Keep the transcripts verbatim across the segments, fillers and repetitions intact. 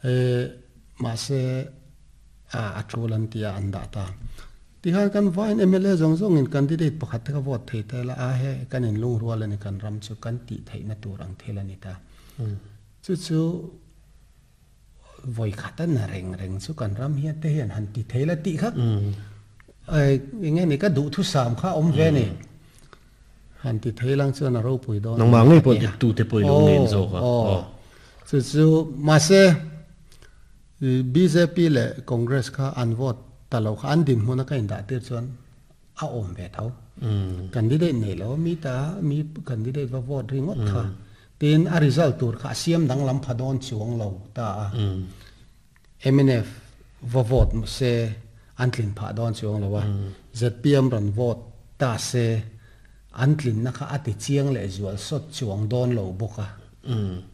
E ma se a a tulan tia an da ta ti han kan vain M L A zong zong in candidate pakhat ka vote thei te la a he kan in lung rual ani kan ram chu kan ti thei na tur ang thel ani ta. Chu chu voi khatan na reng reng chu kan ram hian te hian han ti thei la ti kha ai nge ni ka du thu sam kha om ve ni han ti thei lang chuan a ro pui don. Nang ma ngei pon tu te poi lo nen zo ka. Oh, chu chu ma se B J P le Congress kha an vote talo kha an din hmuna ka in da tir chuan a om ve tho candidate nei lo mi ta mi candidate va vote ringot kha tin a result tur kha siam dang lam phadon chuang lo ta a. M N F va vote se an tlin pha don chuang lo wa, Z P M ran vote ta se an tlin na kha ati chiang le zual sot chuang don lo boka.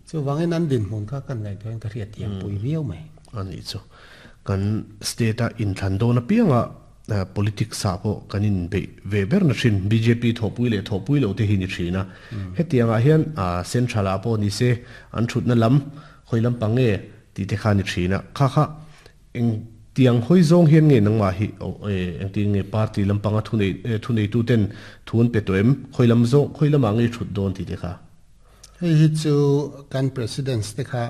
Chu wangin an din hmun kha kan ngai thoin ka riat thiam pui viau mai. Ani chu kan state a in thlan do na pianga politics sa po kanin be ve ber na thin B J P thopui le thopui lo te hi ni thina. Hetianga hian a central a po ni se an thut na lam khoilam pange ti te kha ni thina kha kha eng tiang hoi zong hian nge nangma hi eng ti nge party lampanga thu nei thu nei tu ten thun pe toem khoilam zo khoilam ange thut don ti te kha. Hei hi chu kan president te kha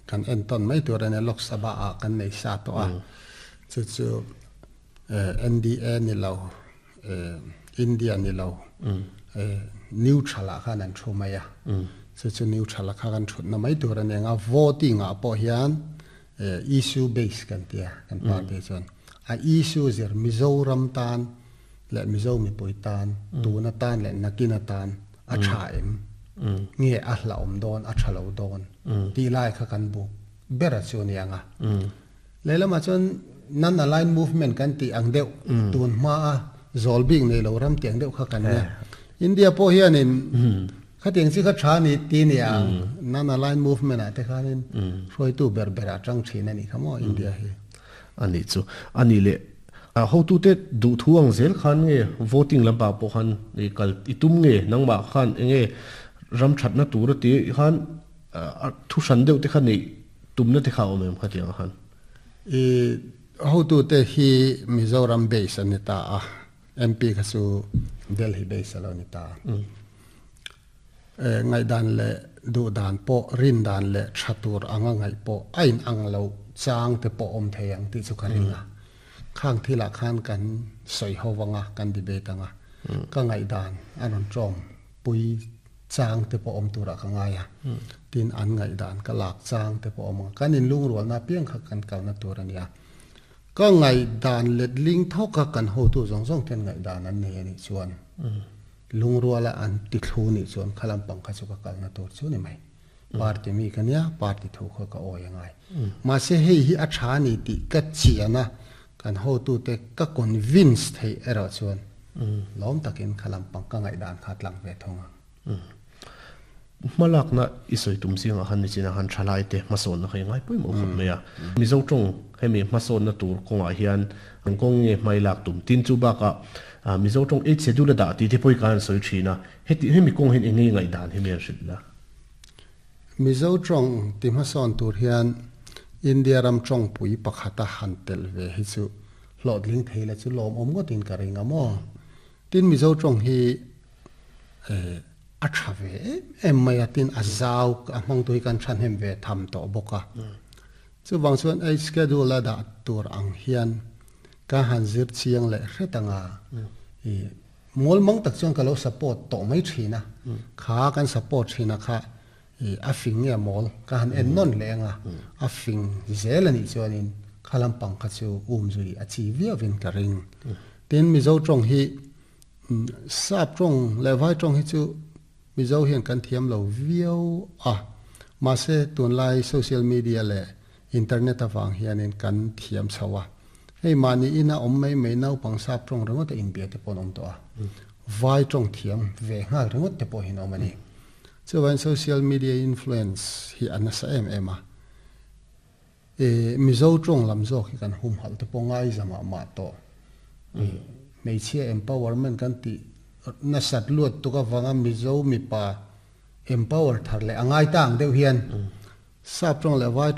kan enton mai tur ane Lok Sabha a kan nei sa to a. Chu chu N D A ni lo, India ni lo, neutral a khan an thu mai a. Chu chu neutral a kha kan thut na mai tur ane nga. Voting a pawh hian issue base kan tia kan party chuan a issue zir Mizoram tan le Mizo mi pui tan tuna tan le nakina tan a tha em nge a hla om don a thalo don ti lai kha kan bu bera chu ni anga. Leilama chuan non align movement kan ti ang deuh tun ma a zol bik nei lo ram tiang deuh kha kan ne India po hianin kha tiang chi kha tha ni ti ni ang non align movement a te khanin hroi tu ber bera tang thin ani khamo India hi. Ani chu ani le a ho tu te du thuang zel khan nge voting lampa po khan i kal itum nge nangma khan nge ram that na tur ti khan thu san deuh te khan nei tumna te kha om em kha tiang khan? I ho tu te hi Mizoram base ani ta a, M P kha chu Delhi base alo ni ta. E ngai dan le du dan po rin dan le thatur anga ngai po ain ang lo chang te po om theyang ti chu kharinga khang thila khan kan soi howanga kan debate anga ka ngai dan anon trom pui chang te po om tura ka ngaya tin an ngai dan ka lak chang te po om kan in lung rual na piang kha kan kal na tur ania. Ka ngai dan let ling thoka kan ho tu zong zong ten ngai dan an nei ani chuan lung ruala an ti thlu ni chuan khalam pang kha chu ka kal na tur chu ni mai. Party mi kania party thu kha ka oi ngai ma se hei hi a tha ni ti ka chiana kan ho tu te ka convince thei era chuan lom takin khalam pang ka ngai dan kha tlang ve thonga. Malak na isoi tum singa han ni china han thalai te mason na khai ngai pui mo khop me a Mizo tong hemi mason na tur konga hian ang kong nge mai lak tum tin chu ba ka Mizo tong eight schedule da ti te poi kan soi thina heti hemi kong hin enge ngai dan hemi an hrit la. Mizo tong ti mason tur hian India ram tong pui pakhata han tel ve hi chu hlot ling theila chu lom om ngo tin ka ringa mo. Tin Mizo tong hi eh a tha ve em mai atin a zau a hmang tui kan than hem ve tham to boka. Chu wang chuan ei schedule da tur ang hian ka han zir chiang le hretanga i mol mang tak chuan ka lo support to mai thina kha kan support thina kha i a fing nge mol ka han en non le nga a fing zel ani chuanin khalam pang kha chu um zui a chi via vin ka ring. Tin Mizo tong hi sap tong le vai tong hi chu Mizo hian kan thiam lo viau a ma se tun lai social media le internet awang hianin kan thiam chawa. Hei mani ina om mai mai nau pang sap tong ringot te in bia te pon om to a vai tong thiam ve ngal ringot te po hin om ani chuan social media influence hi anasa em em a. E Mizo tong lam zo hi kan hum hal te po ngai zama ma to mei chia empowerment kan ti na sat luat tu ka wanga Mizo mi pa empower thar le angai tang deuh hian sap tong le vai tong.